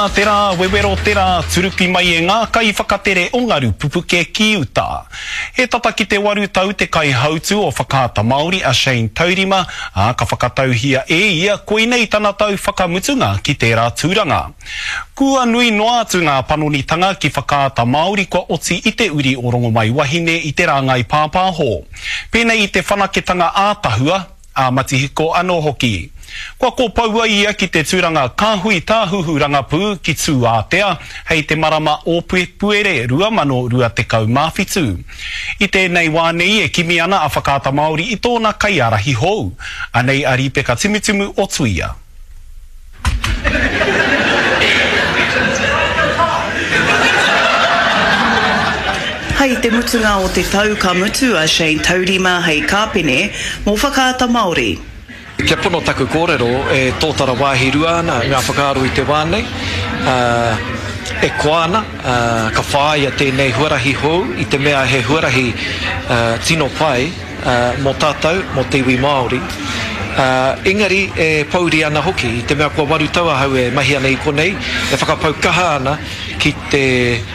Te rā wewero te rā turuki mai e ngā kaiwhakatere o Ngaru Pupuke ki uta. He tata ki te waru tau te kaihautū o Whakaata Māori a Shane Taurima, ā, ka whakatauhia e ia koinei tana tau whakamutunga ki tērā tūranga. Kua nui noa atu ngā panonitanga ki Whakaata Māori kua oti i te uri o Rongomaiwahine i te rāngai pāpāho. Pēnei i te whanaketanga ā-tahua, ā-matihiko anō hoki. Kua kōpoua ia ki te tūranga Kāhui Tāhuhu Rangapū ki Tūātea hei te marama o Pēpuere 2027. I tēnei wā nei e kimi ana a Whakaata Māori i tōna kaiārahi hou. Anei a Rīpeka Timutimu o Tuia. Hei te mutunga o te tau ka mutu a Shane Taurima hei kāpene mō Whakaata Māori. Kia pono taku kōrero, e tōtara wāhi rua ana ngā whakaaro i te wā nei, ā, e koa ana, ā, ka whāia tēnei huarahi hou i te mea he huarahi, ā, tino pai, mō tātou, mō te iwi Māori. Engari e pōuri ana hoki, i te mea kua waru tau ahau e mahi ana i konei, e whakapau kaha ana ki te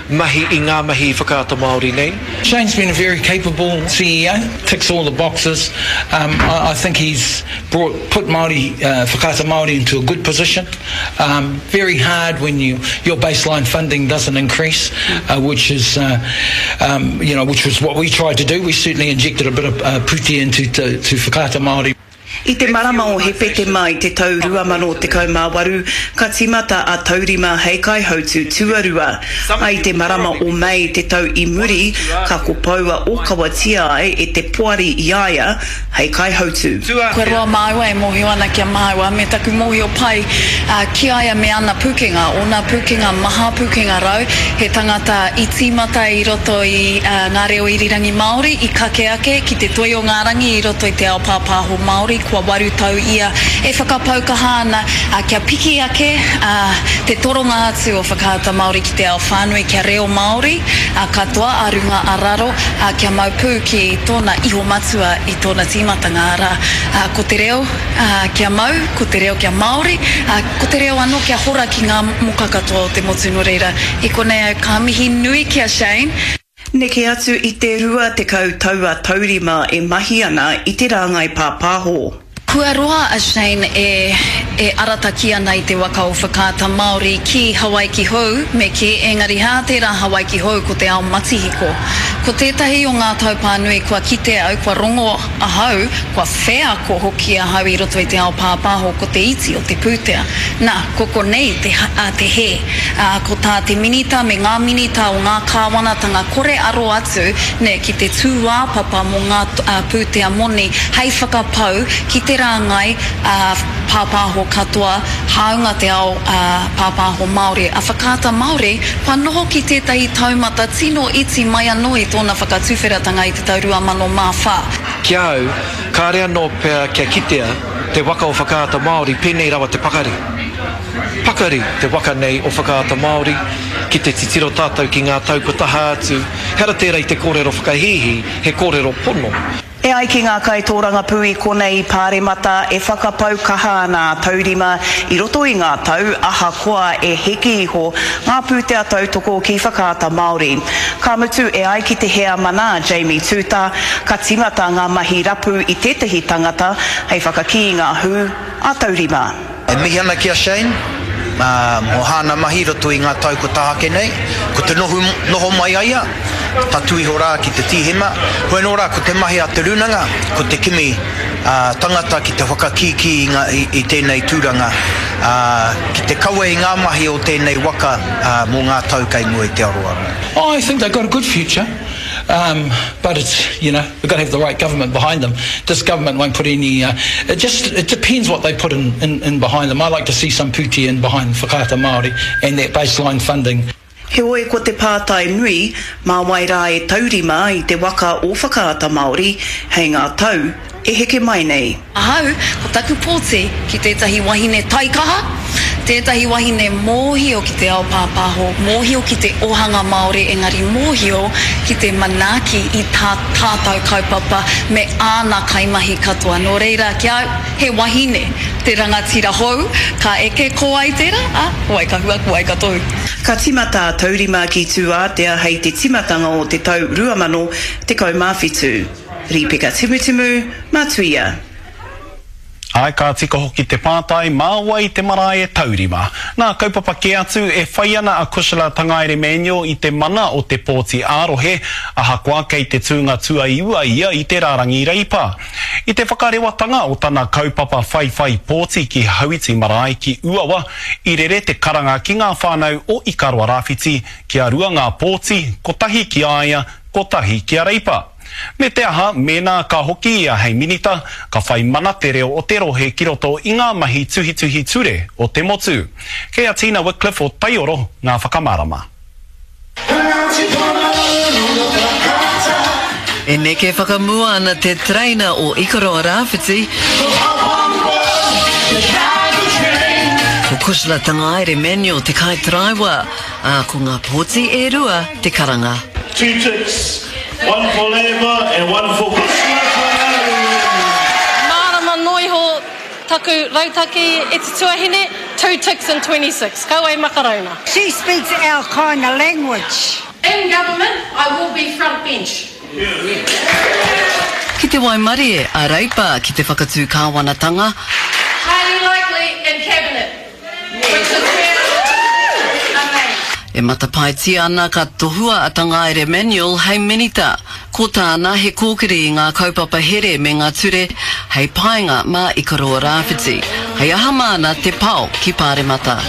mahi i ngā mahi i Whakaata Māori nei. Shane's been a very capable CEO, ticks all the boxes. Um, I, I think he's brought, put Māori, uh, Whakaata Māori into a good position. Um, very hard when you, your baseline funding doesn't increase, uh, which is, uh, um, you know, which was what we tried to do. We certainly injected a bit of uh, pūtea into to, to Whakaata Māori. I te marama o Hepetema i te tau 2018, ka tīmata a Taurima hei kaihautū tuarua. A i te marama o Mei te tau i muri, ka kopoua ōkawatia ai e te poari i a ia hei kaihautū. Kua roa māua e mōhio ana ki a māua me taku mōhio pai ki a ia me ana pūkenga, ōna pūkenga maha, pūkenga rau, he tangata i tīmata i roto i ngā reo irirangi Māori, i kake ake ki te toi o ngā rangi i roto i te ao pāpāho Māori, kua waru tau ia e whakapau kaha ana kia piki ake te toronga atu o Whakaata Māori ki te ao whānui kia reo Māori katoa a runga a raro kia mau pū ki tōna iho matua i tōna tīmatanga, arā, ko te reo kia mau, ko te reo kia Māori, ko te reo anō kia hora ki ngā moka katoa o te motu. Nō reira, i konei au ka mihi nui ki a Shane. Neke atu i te 20 tau a Taurima e mahi ana i te rāngai pāpāho. Kua roa a Shane e e arataki ana i te waka o Whakaata Māori ki Hawaiki Hou, me kī, engari hā tērā Hawaiki Hou ko te ao matihiko. Ko tētahi o ngā taupā nui kua kite au, kua rongo ahau, kua wheako hoki ahau i roto i te ao pāpāho ko te iti o te pūtea. Nā, ko konei te, a, te hē. Ā, ko tā te Minita me ngā Minita o ngā kāwanatanga kore aro atu, nē, ki te tūāpapa mō ngā pūtea moni hei whakapau ki te rāngai pāpāho katoa, hāunga te ao pāpāho Māori. A Whakaata Māori, kua noho ki tētahi taumata tino iti mai anō i tōna whakatuwheratanga i te tau 2004. Ki a au, kāre anō pea kia kitea te waka o Whakaata Māori pēnei rawa te pakari. Pakari te waka nei o Whakaata Māori, ki te titiro tātou ki ngā tau kua taha atu, ehara tērā i te kōrero whakahīhī, he kōrero pono. E ai ki ngā kaitōrangapū i konei i Pāremata, e whakapau kaha ana a Taurima i roto i ngā tau, ahakoa e heke iho ngā pūtea tautoko ki Whakaata Māori. Ka mutu, e ai ki te heamana a Jamie Tuuta, ka tīmata ngā mahi rapu i tētahi tangata hei whakakī i ngā hū a Taurima. E mihi ana ki a Shane mō hāna mahi i roto i ngā tau kua taha ake nei. Ko te noho, noho mai a ia, tatū iho rā ki te Tīhema. Hoi anō rā, ko te mahi a te Rūnanga, ko te kimi tangata ki te whakakīkī i ngā, i, i tēnei tūranga, ā, ki te kawe i ngā mahi o tēnei waka mō ngā tau kei mua i te aroaro. Oh, I think they've got a good future, um, but it's, you know, We've got to have the right government behind them. This government won't put any, uh, it just, it depends what they put in, in, in behind them. I like to see some pūtea in behind Whakaata Māori and that baseline funding. Heoi ko te pātai nui, mā wai rā e taurima i te waka o Whakaata Māori hei ngā tau e heke mai nei? Ahau, ko taku pōti ki tētahi wahine taikaha, Tētahi wahine mōhio ki te ao pāpāho, mōhio ki te ohanga Māori engari mōhio ki te manaaki i tā tātau kaupapa me āna kaimahi katoa. Nō reira, ki a au, he wahine te rangatira hou, ka eke ko wai tērā, ā, ko wai ka hua, ko wai ka tohu. Ka tīmata a Taurima ki Tūātea hei te tīmatanga o te tau 2017. Rīpeka Timutimu, Matuia. Āe, ka tika hoki te pātai, mā wai te marae e taurima? Nā kaupapa kē atu, e whai ana a Cushla Tangaere-Manuel i te mana o te pōti ā-rohe, ahakoa kei te tūnga tuaiua ia i te rārangi Reipa. I te whakarewatanga o tana kaupapa whaiwhai pōti ki Hauiti Marae ki Uawa, i rere te karanga ki ngā whānau o Ikaroa Rāwhiti kia rua ngā pōti, kotahi ki a ia, kotahi ki a Reipa. Me te aha, mēnā ka hoki ia hei minita, ka whai mana te reo o te rohe ki roto i ngā mahi tuhituhi ture o te motu. Kei a Tina Wickliffe o Taioro ngā whakamārama. E neke whakamua ana te tereina o Ikaroa Rāwhiti, ko Cushla Tangaere Manuel te kaitaraiwa, ā, ko ngā pōti e rua te karanga. Two ticks, one for Labour and one for Cushla Tangaere. Mārama noa iho taku rautaki e te tuahine, two ticks and 26. Kaua e makarauna. She speaks our kind of language. In government, I will be front bench. Ki te waimarie a Reipa ki te whakatū kāwanatanga. Highly likely in cabinet. E matapaetia ana ka tohua a Tangaere Manuel hei minita. Ko tāna he kōkiri i ngā kaupapa here me ngā ture hei painga mā Ikaroa Rāwhiti. Hei aha māna te pao ki Pāremata.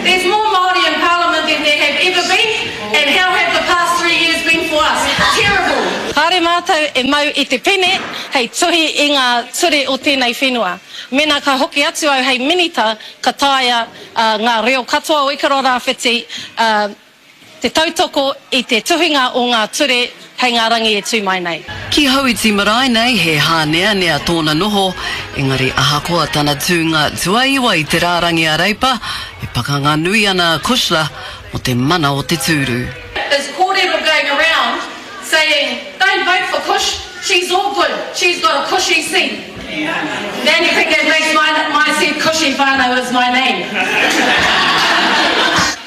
There's more Māori in Parliament than there have ever been and how have the past three years been for us? Terrible! Kāre mātou e mau i te pene hei tuhi i ngā ture o tēnei whenua. Mēnā ka hoki atu au hei Minita, ka taea ngā reo katoa o Ikaroa Rāwhiti te tautoko i te tuhinga o ngā ture hei ngā rangi e tū mai nei. Ki Hauiti marae nei he hāneanea tōna noho, engari ahakoa tana tūnga tuaiwa i te rārangi a Reipa, e pakanga nui ana a Cushla mō te mana o te tūru. There's kōrero going around saying don't vote for Cush, she's all good, she's got a cushy seat. The only thing that makes my, my seat cushy whānau is my name.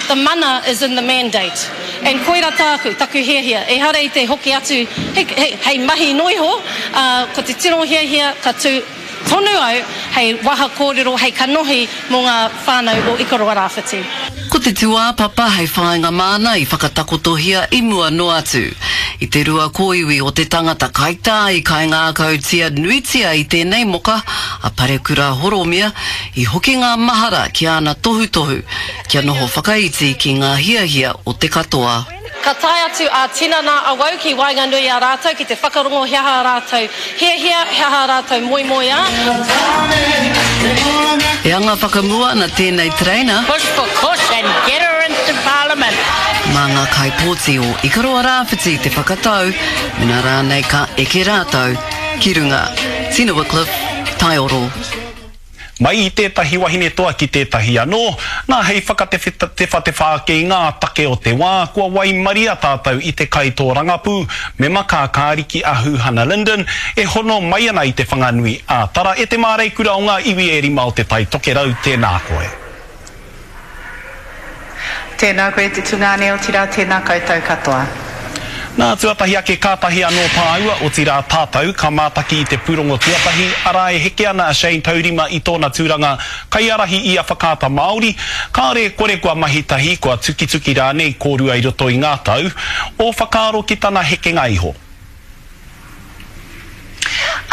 The mana is in the mandate. And koira tāku, taku hiahia, ehara i te hoki atu he, he, hei mahi noa iho, ā, ko te tino hiahia ka tū tonu au hei waha kōrero, hei kanohi mō ngā whānau o Ikaroa Rāwhiti. Ko te tūāpapa hei whāinga māna i whakatakotohia i mua noa atu. I te rua kōiwi o te tangata kaitā i kaingākautia nuitia i tēnei moka, a Parekura Horomia, i hoki ngā mahara ki āna tohutohu kia noho whakaiti ki ngā hiahia o te katoa. Ka tae atu ā-tinana awau ki waenganui i a rātou ki te whakarongo he aha ā rātou hiahia, he aha ā rātou moemoeā. E anga whakamua ana tēnei tereina. Push for Cush and get her into Parliament. Mā ngā kaipōti o Ikaroa Rāwhiti te whakatau mena rānei ka eke rātou ki runga. Tina Wickliffe, Taioro. Mai i tētahi wahine toa ki tētahi anō, nā hei whakatewhatewha ake i ngā take o te wā, kua waimaria tātou i te kaitōrangapū, mema kākāriki a Huhana Lyndon, e hono mai ana i Te Whanganui a Tara, e te māreikura o ngā iwi e rima o Te Tai Tokerau, tēnā koe. Tēnā koe te tungāne, otirā tēnā koutou katoa. Nā, tuatahi ake kātahi anō tāua, otirā tātou, ka mātaki i te pūrongo tuatahi, arā e heke ana a Shane Taurima i tōna tūranga kaiārahi i a Whakaata Māori, kāore e kore kua mahi tahi, kua tukituki rānei kōrua i roto i ngā tau, ō whakaaro ki tana hekenga iho.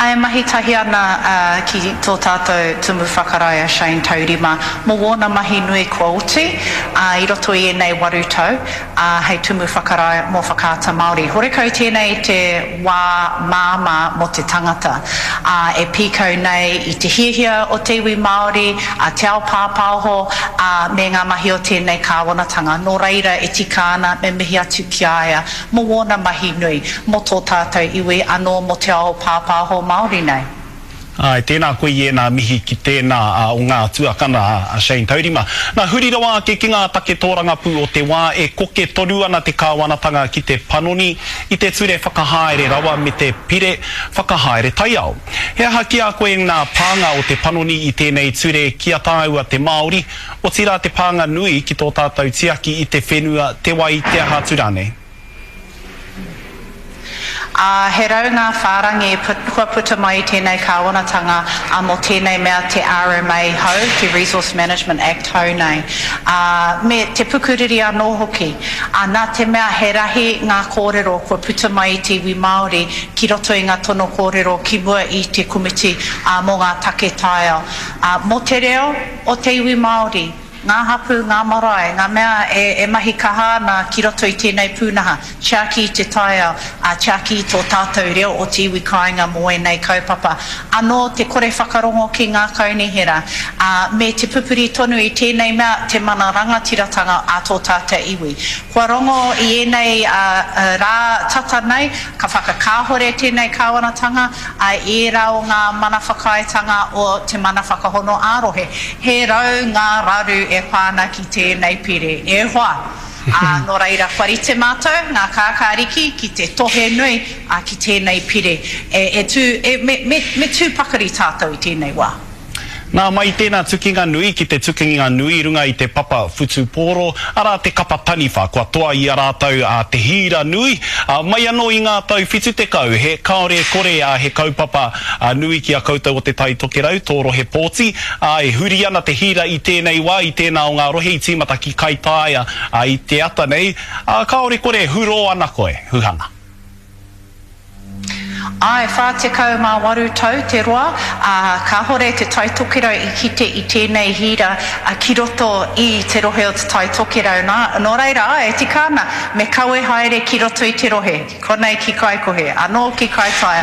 E mahi tahi ana ki tō tātou Tumu Whakarae a Shane Taurima mō wōna mahi nui kua oti i roto i ēnei waru tau hei Tumu Whakarae mō Whakaata Māori. Horekau tēnei te wā māmā mō te tangata e pīkau nei i te hiahia o te iwi Māori, te ao pāpāho me ngā mahi o tēnei kāwanatanga. Nō reira e tika ana me mihi atu ki a ia mō wōna mahi nui, mō tō tātou iwi anō mō te ao pāpāho Māori nei. Āe, tēnā koe i ēnā mihi ki tēnā o ngā tuakana a Shane Taurima. Nā, huri rawa ake ki ngā take tōrangapū o te wā, e koke tonu ana te kāwanatanga ki te panoni i te ture whakahaere rawa me te pire whakahaere taiao. He aha ki a koe ngā pānga o te panoni i tēnei ture ki a tāua te Māori, otirā te pānga nui ki tō tātou tiaki i te whenua, te wai, te aha atu rānei? Ā, he raunga whārangi kua puta mai i tēnei kāwanatanga ā, mō tēnei mea te RMA hou, te Resource Management Act hou nei, ā, me te pukuriri anō hoki. Ā, nā te mea he rahi ngā kōrero kua puta mai i te iwi Māori ki roto i ngā tono kōrero ki mua i te komiti ā, mō ngā take taiao, ā, mō te reo o te iwi Māori. Ngā hapū, ngā marae, ngā mea e mahi kaha ana ki roto i tēnei pūnaha, tiaki i te taiao, ā, tiaki i tō tātou reo o te iwi kāinga mō ēnei kaupapa. Anō te kore whakarongo ki ngā kaunihera, ā, me te pupuri tonu i tēnei mea te mana rangatiratanga a tō tātou iwi. Kua rongo i ēnei rā tata nei, ka whakakāhore tēnei kāwanatanga, ā, ērā o ngā mana whakaaetanga o te mana whakahono ā-rohe. He rau ngā raru e pā ana ki tēnei pire, e hoa! Ā, nō reira, kua rite mātou, ngā kākāriki, ki te tohe nui, ā, ki tēnei pire. E, e tū, e, me, me, me tū pakari tātou i tēnei wā. Nā, mai i tēnā tukinga nui ki te tukinga nui i runga i te papa whutupōro, arā te kapa taniwha, kua toa i a rātou a Te Hīra Nui, ā, mai anō i ngā tau 70, he kāore e kore, ā, he kaupapa nui ki a koutou o Te Tai Tokerau, tō rohe pōti, ā, e huri ana te hīra i tēnei wā, i tēnā o ngā rohe i tīmata ki Kaitāia, ā, i te ata nei, ā, kāore kore, hurō ana koe, Huhana. Āe, 48 tau te roa, ā, kāhore Te Tai Tokerau i kite i tēnei hīra ki roto i te rohe o Te Tai Tokerau. Nā, nō reira, āe, e tika ana, me kawe haere ki roto i te rohe, konei ki Kaikohe, anō ki Kaitaia.